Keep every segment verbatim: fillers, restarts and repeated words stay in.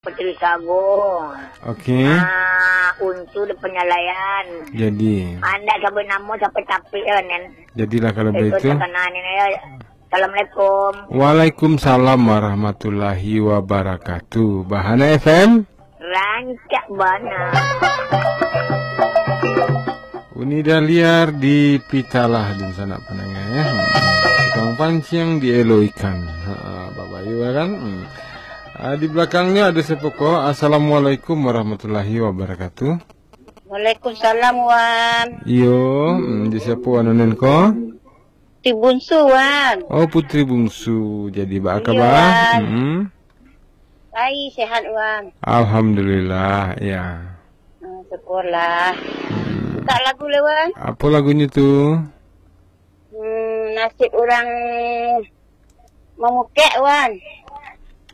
Putri Sago. Okey. Ah, Unsu di Penyalaian. Jadi. Anda sabut namo sampai capek ya, Nen. Jadilah kalau itu begitu. Terkenal ni, ya. Assalamualaikum. Waalaikumsalam warahmatullahi wabarakatuh. Bahana F M. Rancak bana. Uni Dahliar di Pitalah, dunsanak pandanga, ya. Hmm. Tukang panciang dielo ikan. Ha, Bapak Yu, ya kan? Hmm. Ah, di belakangnya ada siapa ko? Assalamualaikum warahmatullahi wabarakatuh. Waalaikumsalam, Wan. Iyo, hmm, di siapa Wan Unen ko? Putri Bungsu, Wan. Oh, Putri Bungsu. Jadi, baa kabar? Wan. Hmm. Baik, sehat, Wan. Alhamdulillah, ya. Hmm, syukurlah. Hmm. Minta lagu lah, Wan. Apa lagunya tu? Hmm, nasib urang mamukek, Wan.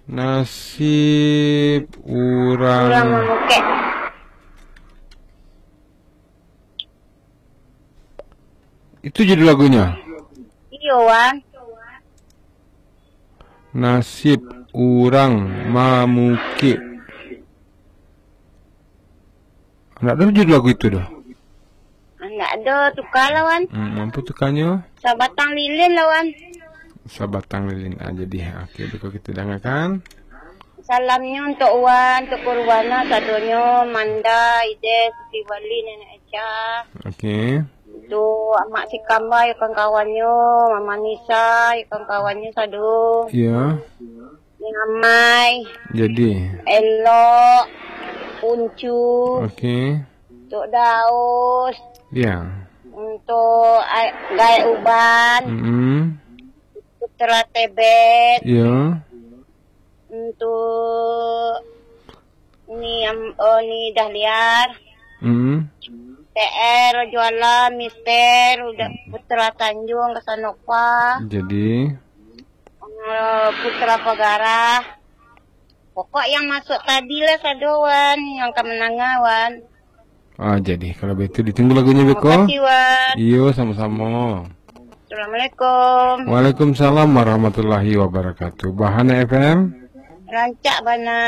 Nasib urang. Urang mamukek. Itu judul lagunya? Iyo, Wan. Nasib urang mamukek. Ndak ado judul lagu itu doh. Ndak ado, tuka lah, Wan. Hmm, apo tukanyo? Sabatang lilin lah, Wan. Sabatang lilin. Ah, jadi, okey, beko kita dangakan. Salamnyo untuk Wan, untuk Kurwana sadonyo, Manda, Ide, Siti Wali, Nenek Echa. Okey. Untuk Amak Sikamba, yo kawan-kawannyo, Mama Nisa, yo kawan-kawannyo sado. Iya. Ni Amai. Jadi. Elok. Uncu. Okey. Tok Daus. Ya. Untuk ai-, Gaek Uban. Mm-mm. Putra Tebet. Ya. Untuk Ni Am-, oh, Ni Dahliar. Mm. P R Juala, Mister, udah Putra Tanjung, Kasanova. Jadi. Eh, Putra Pagarah. Pokok yang masuk tadi lah sado, Wan, yang ka mananga, Wan. Ah, jadi, kalau begitu, ditunggu lagunya beko. Terima kasih, Wan. Iyo, samo-samo. Assalamualaikum. Waalaikumsalam warahmatullahi wabarakatuh. Bahana F M. Rancak bana.